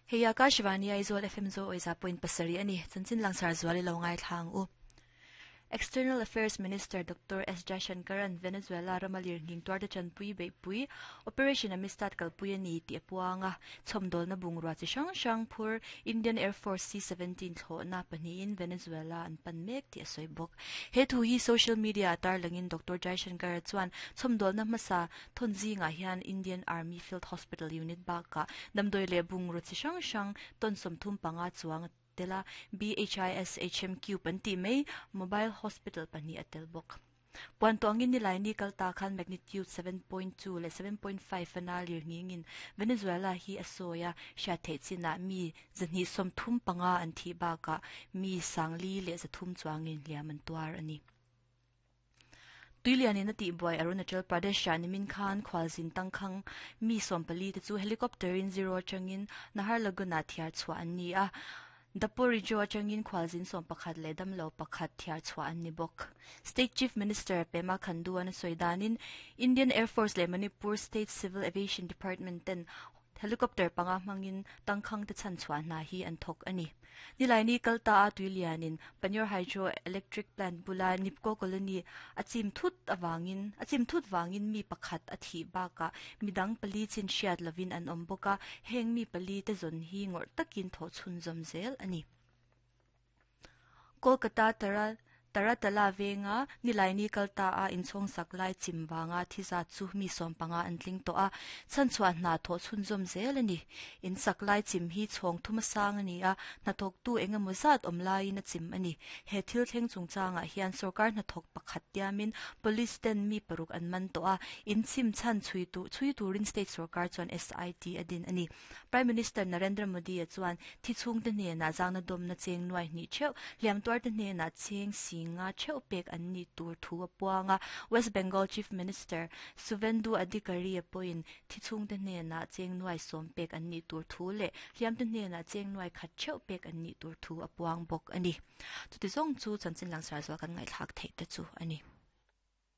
Hei Akashvani Aizawl FM Zo Awisa point pasarih a ni. Chanchin langsar zual i lo ngaithla ang u. External Affairs Minister Doctor S Jaishankar-a'n Venezuela rama lirnghing tuarte chanpui beihpui Operation Amistad kalpui a ni tih a puang a. Chhawmdawlna bungrua chi hrang hrang phur Indian Air Force C-17 thlawhna pahnihin Venezuela an pan mek tih a sawi bawk. He thu hi social media-ah tarlangin Doctor Jaishankar-a chuan chhawmdawlna hmasa thawn zingah hian Indian Army Field Hospital Unit bakah damdawi leh bungraw chi hrang hrang tawn 35 chuang a tel a, BHIS HMQ an tih mai Mobile Hospital pahnih a tel bawk. Puan tawngin Nilaini kal ta khan magnitude 7.2 leh 7.5 a na lir nghingin Venezuela hi a sawi a, hriat theih chinah mi 235 an thih bakah mi 4,300 chuangin hliam an tuar a ni. Tuilianin a tihbuai Arunachal Pradesh-ah nimin khan khualzin tangkhang mi 14 te chu helicopter-in zero atangin Naharlagun-ah thiar chhuah an ni a. Daporijo atangin khualzin 11 leh damlo pakhat thiar chhuah an ni bawk. State Chief Minister Pema Khandu-a'n a sawi danin Indian Air Force leh Manipur State Civil Aviation Department ten Helicopter panga hmangin tangkhang te chhan chhuah hna hi an thawk a ni. Nilaini kal ta a tui lianin Panyor Hydro Electric Plant bula Nipco Colony a chim thut avangin a chim thut vangin mi pakhat a thih bakah midang pali chin hriat lovin an awm bawk a, heng mi pali te zawn hi ngawrh takin thawh chhunzawm zel a ni. Kolkata Tara Taratala venga Nilaini kal ta a inchhawng sak lai chim vanga thi zat chu mi 15 an tling tawh a, chhanchhuah hna thawh chhunzawm zel a ni. In sak lai chim hi chhawng thuma sang a ni a, hnathawktu eng emaw zat awm laiin a chim a ni. He thil thleng chungchangah hian sorkar hnathawk pakhat tiamin police ten mi paruk an man tawh a, in chim chhan chhui chhui turin state sorkar chuan SIT a din a ni. Prime Minister Narendra Modi-a chuan thi chhungte hnenah zangna dawmna cheng nuai hnih theuh, hliam tuarte hnenah cheng si nga theuh pek an nih tur thu a puang a. West Bengal Chief Minister Suvendu Adhikari-a pawhin thi chhungte hnenah cheng nuai sawm pek an nih tur thu leh hliamte hnenah cheng nuai khat theuh pek an nih tur thu a puang bawk a ni. Chuti zawng chu chanchin langsar zual kan ngaihthlak theih te chu a ni.